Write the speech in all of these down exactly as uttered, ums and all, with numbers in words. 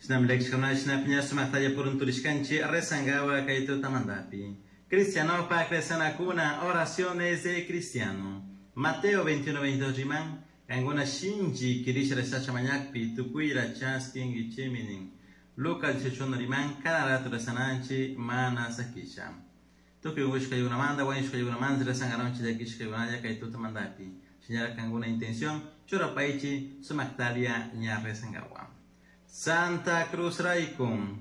Shinami llakishkuna shinapi ña sumaktalla purunturishkanchik rezankapak kay tutamantapi. Cristianopak rezanakuna oraciones de cristiano. Mateo veintiuno veintidós riman, kankuna shinchi kirisha rezasha mañakpi tukuyra chaskinkichikmi nin. Lucas dieciocho uno riman, cada rato rezananchik mana sakisha. Tukuy unkushkaykunamanta wañushkaykunamanta rezankaranchik llakishkaykunalla kay tutamantapi. Shinallara kankuna intención churapaychik sumaktalla ña rezankawan. Santa Cruz raykum,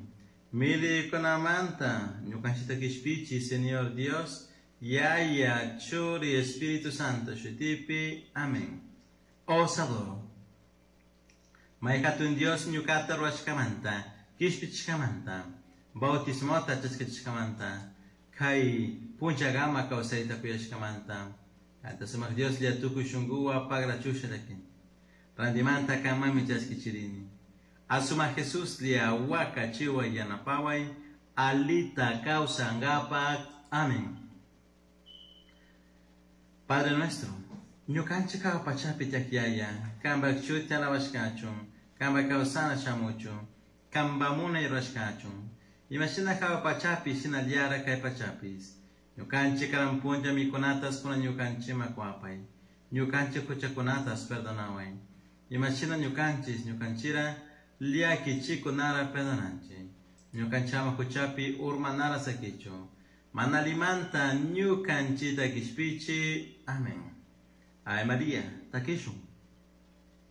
milikunamanta ñukanchikta kishpichi Señor Dios, Yaya, Churi, Espíritu Santo, shutipi. Amén. Os adoro. May hatun Dios ñukata ruwashkamanta, kishpichishkamanta, bautismota chaskachishkamanta, kay punchagama kawsayta kuyashkamanta. Kanta sumak Dios lla tukuy shunkuwa pagrachusha llakin. Randimanta kanmanmi chaskichirini. Asuma Jesús lia waka chiwa yanapaway, alita kawsankapak. Amén. Padre nuestro, ñukanchik hawa pachapi tiyak Yaya, kanpak shuti alabashkachun, kanpak kawsana shamuchun, kanpak munay rurashkachun. Imashina hawa pachapi shinallara kay pachapis. Ñukanchik karan punlla mikunatas kunan ñukanchikman kuwapay. Ñukanchik huchakunatas perdonaway. Imashina ñukanchik ñukanchira llakichikunara perdonanchik. Ñukanchama huchapi urmanara sakichu. Mana allimanta ñukanchita kishpichi. Amén. Ave María, takishun.